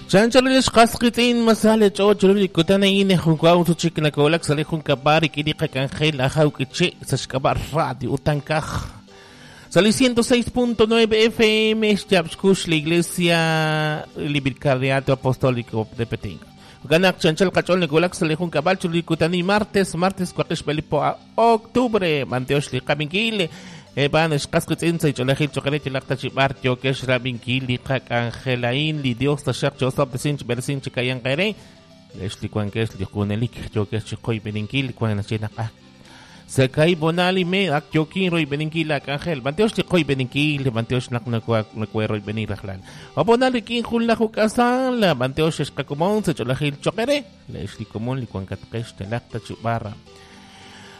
Chanchal xqas qitz'in masale ch'och ru li kutan a'in junwaw chik nakowlak sa' li junkab'al rik'in li qak'anjel ajaw k'iche' sa' xk'ab'a' radio utankaj sa' li 106.9 FM xyaab' xkux la Iglesia li Vicariato Apostólico de Petén. Ganak chanchal qach'ol nakowlak sa' li junkab'al chu li kutan martes martes waqix b'elipo octubre manteox li qabinkil Eban xqas qitz'in sa' ch'olejil choqere chilaq tachib'ar yokex rabinkil li qak'anjelain li Dios taxaq chosab tesin chb'ersin chikayan qere lex li wankex li junelik yokex chiqoy beninkil wan nachinaq ah Sakay bonali me ak yokin roy beninkil ak'anjel manteox li qoy beninkil manteox naq nakwe roy benir rajlal Abonali kin jun la juk'asan la manteox xqakumon sa ch'olejil choqere lex li komon li wankatqex telaq tachib'arra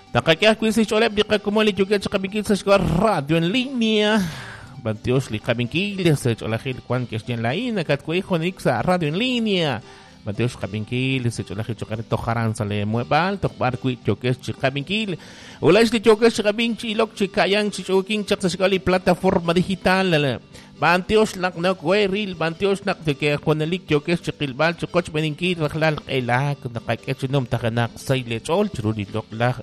Taqak'aj kwisi ch'oleb li qakumon li yukech qabinkil sa xk'or radio en línea. Bantiox li qabinkil sa ch'olajil kwan kexyen laín akatkuij junik sa radio en línea. Bantiox qabinkil sa ch'olajil choqare tojaran sa le muebal toqbar kwi yokex chi qabinkil. Ulax li yokex qabin chi ilok chi kayan chi ch'ukin chaq sa xk'ol li plataforma digital. Bantiox naq nok weril bantiox naq ke junelik yokex chi qilbal chi qoch beninkil rajlal q'elak naqak'ech num tajanaq say le ch'ol chru li loqlaj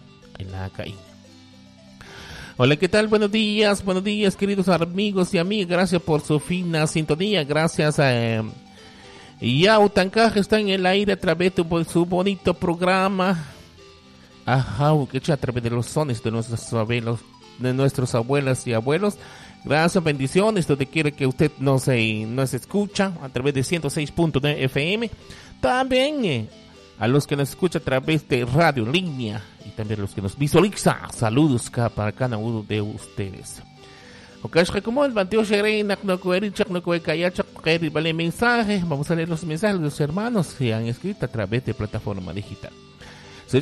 Hola, ¿qué tal? Buenos días, queridos amigos y amigas. Gracias por su fina sintonía. Gracias a Ya Utancaj está en el aire a través de su bonito programa. Ajá, que a través de los sones de nuestros abuelos, de nuestros abuelas y abuelos. Gracias, bendiciones, donde quiera que usted nos escucha a través de 106.9 FM. También a los que nos escucha a través de radio en línea y también a los que nos visualiza. Saludos para cada uno de ustedes. Vale mensaje. Vamos a leer los mensajes de los hermanos que han escrito a través de plataforma digital. Se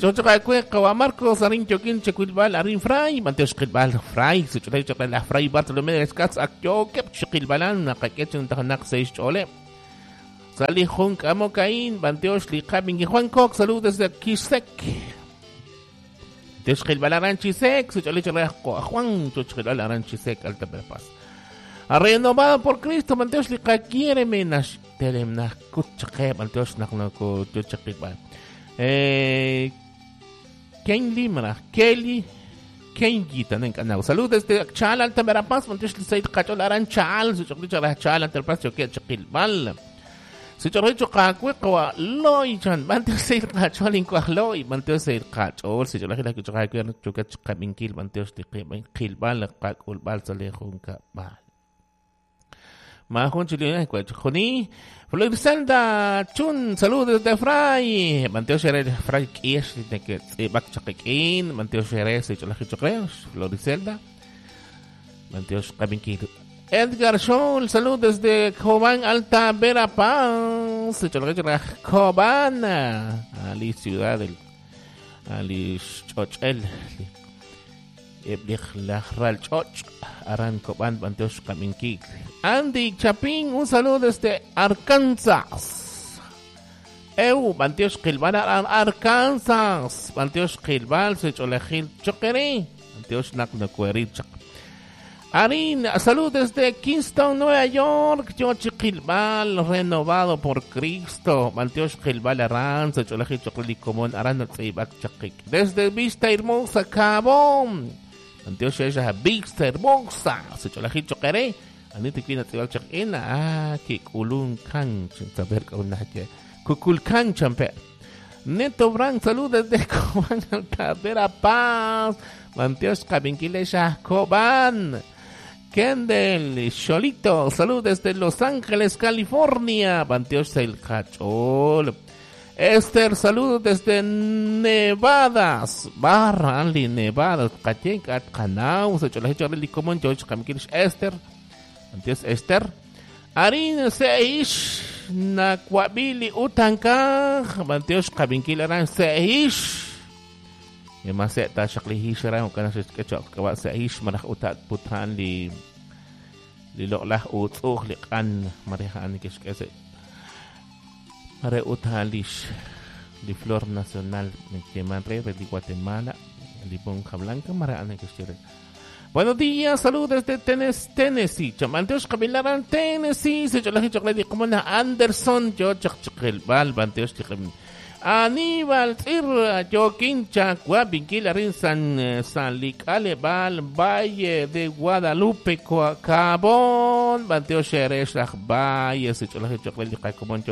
Marcos Arin Choquín Chequilbal Arin Fray Manteo Chiquilbal Fray Se la Fray Bartolomé de Escats Akyo Chiquilbalan Nakaquechin Tajanak Seis Chole Sali Jun Kamokain Banteox Liqabin Juan Cox saludos desde Quisec Teox Qilbal Aran Chisec Juan Chochqilbal Aran Chisec Alta Verapaz Renovado por Cristo Banteox Liqa Menash Telemna Kuchaqe Banteox Naqnako Teox Ken Limra Kelly Kenji también canal. Saludos desde Chal Alta Verapaz Banteox Lisaid Qachol Aran Chal Chal Alta Verapaz Choque Chaqilbal Se chorrecho loy chan manteo se qachol in loy manteo se qachol se chorrecho la que choque chqabinkil manteo se qilbal qaqulbal sale junka bal Majun chilena joni Florizelda Chun saludos desde Fray manteo se Fray kiesh de que bak chaqikin manteo se se chorrecho Florizelda manteo qabinkil Edgar Scholl, saludos desde Cobán, Alta Verapaz, Cobán, Ali Ciudad del Ali Chochel, Choch, Aran Cobán, Banteosh Kaminkik. Andy Chapín, un saludo desde Arkansas. Eu, Banteosh Kilbal, Arkansas, Banteosh Kilbal, Secholejil Choqueri, Banteosh Naknacueri Chak. Arin, saludos desde Kingston, Nueva York. Yochi Gilbal, renovado por Cristo. Malteosh Gilbal Aran, Cholaji Chocolicomón, Aran Chakik. Desde Vista Hermosa, Cabón. Malteosh ella Vista Hermosa, Cholaji Chocaré. Anita Kina Tibal Chakina, ah, Kikulun Kan, saber Kukulkan Champe. Neto Brand, saludos desde Cobán, Alta Verapaz. Manteosh Cabinquilesha, Cobán. Kendall Cholito, saludos desde Los Ángeles, California. Banteosh el Cachol. Esther, saludos desde Nevadas. Barra, Ali, Nevadas. Kayenkat, Kanau, Esther. Banteosh Esther. Arin Seish, Nakwabili, Utankaj. Banteosh Kabinkilaran Seish. Yamase ta shakli hishra o kana shkecho kawa seish maraj utat putan li loqlah utsuj li qan mareja an kishkese mare utalish li flor nacional que man re de Guatemala li ponja blanca mare an kishkere Buenos días, saludos desde Tennessee. Chamanteos Kabilaran, Tennessee. Se cholaje chocolate como na Anderson, yo chakchakil bal, banteos Aníbal Tzir, Joaquín Chacua, Vinquilarín San Salicale Bal, Valle de Guadalupe, Cabón, Banteo Xeresh, Valle, se cholaje chocolate como el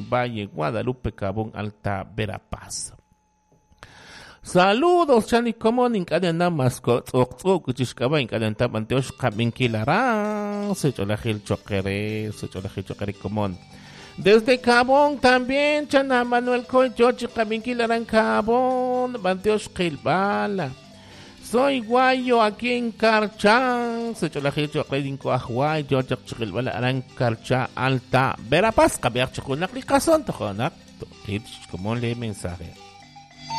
Valle, Guadalupe, Cabón, Alta Verapaz. Saludos, Chani, como ninkadena masko, tzok tzok, chishkaba, inkadenta, banteosh, kabinkilarán, se cholajil choquere, se cholajil choquere, comón. Desde Cabón también, Chana Manuel Coy, Chochi, kabinkilarán, Cabón, banteosh, Quilbala. Soy guayo aquí en Carchán, se cholajil choquere, inco ajuay, yo, chikilbala, aran, Carchá, Alta, Verapaz, kabiach, chikunak, likazón, tojonak, como le mensaje.